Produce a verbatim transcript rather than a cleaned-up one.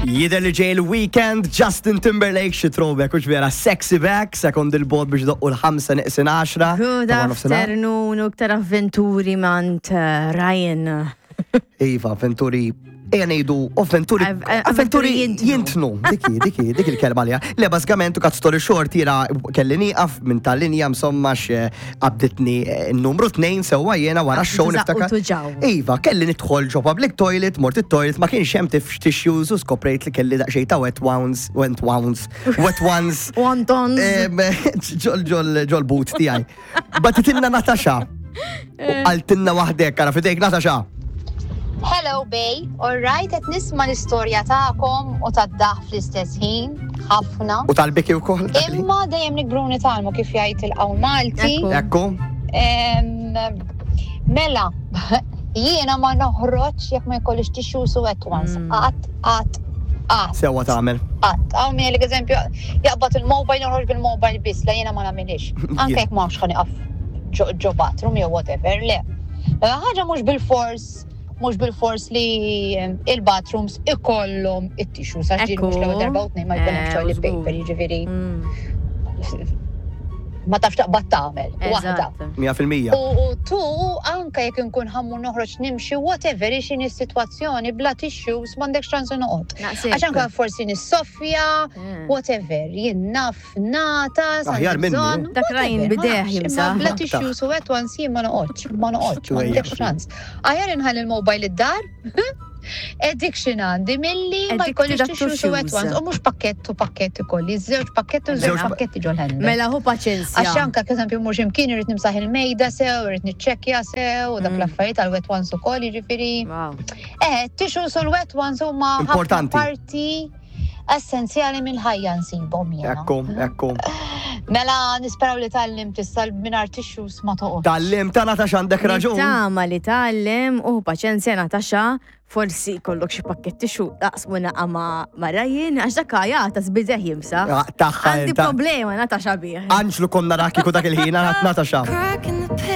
Jidher li ġej il-weekend, Justin Timberlake, xi throwback, u vera sexy back, sekond il-bot biex doqqu l-ħamsa neqsin għaxra. Good ta' nofsinhar. Afternoon, u iktar avventuri mant uh, Ryan. Iva, avventuri, ejja ngħidu, avventuri, Av- eh, avventuri avventuri jintnu. jintnu. Diki, diki, dik il-kelma li. Le, bażikament, u cut story short, jiena kelli nieqaf minn tal-linja, insomma, qabditni eh, n-numru tnejn sewwa jiena wara x-show Tużaq u niftakar. tuġaw. Iva, kelli nidħol ġo public toilet, mort it-toilet, ma kienx hemm tif tissues u skoprejt li kelli daqsxejn ta' wet ones, wet ones, wet ones. Wontons. Em, Ġol ġol ġol boot tiegħi. Bagħtitilna Natasha. U qaltilna waħdek, ara fidejk, Natasha. Hello, Bay. All right, qed nisma' l-istorja tagħkom u tad-daħ fl-istess ħin, ħafna. U tal-biki wkoll. Imma dejjem nikbru nitgħallmu, kif jgħid il-qawl Malti. Ekku. Ekku. Em, Mela, jiena ma noħroġ jekk ma jkollix tissues u wet ones. Qatt, qatt, qatt. Sewwa tagħmel. Qatt. Hawn min jgħidlek, eżempju, jaqbad il-mobile, noħroġ bil-mobile biss, la, jiena ma nagħmilix. Anke jekk ma nafx ħa nieqaf ġo ġo bathroom jew whatever, le. Ħaġa mhux bil-fors mhux bil-fors li em, il-bathrooms ikollhom it-tissues, għax ġieli mhux l-ewwel darba u tnejn ma jkun hemm Eh, toilet żgur. paper, jiġifieri Mm, ma tafx taqbad tagħmel waħda. Eżatt. mija fil-mija. U u tu anke jekk inkun ħa mmur noħroġ nimxi, whatever x'inhi s-sitwazzjoni, bla tissues m'għandekx ċans noqgħod. Naqsek. Għax anke forsi nissoffja, Eh. whatever, jien naf nata, Aħjar minni. Dak Ryan bideh jimsaħ. Bla tissues u wet ones jien ma noqgħodx, ma noqgħodx, m'għandekx ċans. Aħjar inħalli il-mobile id-dar, addiction għandi milli ma Addicted jkollix to tissues u wet tissues. ones. U mhux pakkett u pakkett ikolli, żewġ pakkett u żewġ Żewġ pa- pakketti ġol handbag. Mela hu paċenzja. Għax anka, eżempju, mhux imkien irrid nimsaħ il-mejda sew, irrid niċċekkja sew, u dak Mm. l-affarijiet għal wet ones ukoll, jiġifieri. Wow. Eh, tissues u l-wet ones huma ħafna Importanti. parti essenzjali mill-ħajja nsibhom jiena. Ekku, ekku. Mela nisperaw li tgħallimt issa mingħajr tissues ma toqgħod. Tgħallimt ta, Natasha, għandek raġun. Tama li tgħallimt u paċenzja, Natasha, forsi kollok xi pakketti xu taqsmu naqa ma' ma' Ryan, għax dak jagħta bideh jimsaħ. Ah, Taħħa Għandi inta. problema, Natasha, bih. Anġlu konna rakkiku dak il-ħin, Natasha. Cracking